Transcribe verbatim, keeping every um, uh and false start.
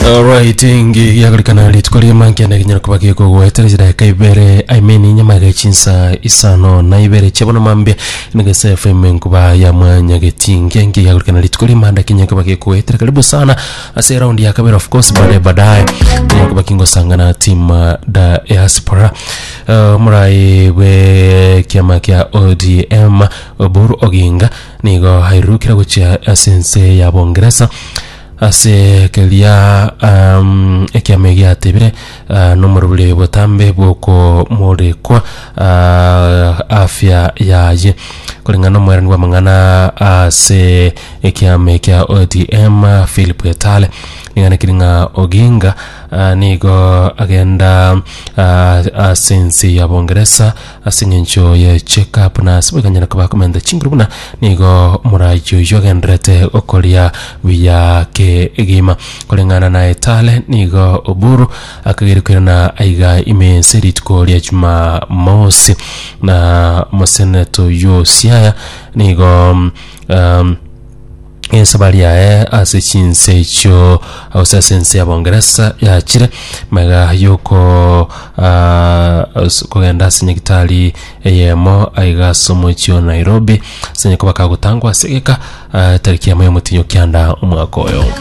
Alright, ngi yagorekana rituko rimankiana kinyara kuba gikogoetera chidakika ibere, I mean, nyama ga chinsa isano na ibere chiabono mambia nigese F M nkuba ya mwanya getinge. Ngi yagorekana rituko rimanda kinya kuba gikogoetera. Karibu sana ase round ya kabere. Of course, baadaye baadaye kinya kuba kingosangana team uh, diaspora. uh, murai bwe kiama kia O D M Oburu Oginga nigo hairukira gochia ase ense ya Bongeresa ase keria um, ekiama giatebire uh, nomorobere botambe bwokomorekwa uh, afya yaye. Kulingana nomwerani bwa mang'ana ase ekiama kia O D M Philip Etale, ning'ana ng'a Oginga uh, nigo agenda uh, ase ense ya Bongeresa ase eng'encho ya check up na ase boikanyara koba komenta chinguru buna nigo morayi oyo agenderete okoria buya kegima. Kulingana na Etale, nigo Oburu akagere kwirana aiga ime ense rituko ria Jumamosi. Na moseneto yo Siaya nigo um, esabari yaye ase chinse echio ase ase ense ya Bongeresa yachire mega yoko uh, kogenda ase nyagitari eyemo aiga ase omochi o Nairobi ase nyako bakagotangwa ase egeka uh, tariki yamo ya omotinyo kianda omwaka oyo.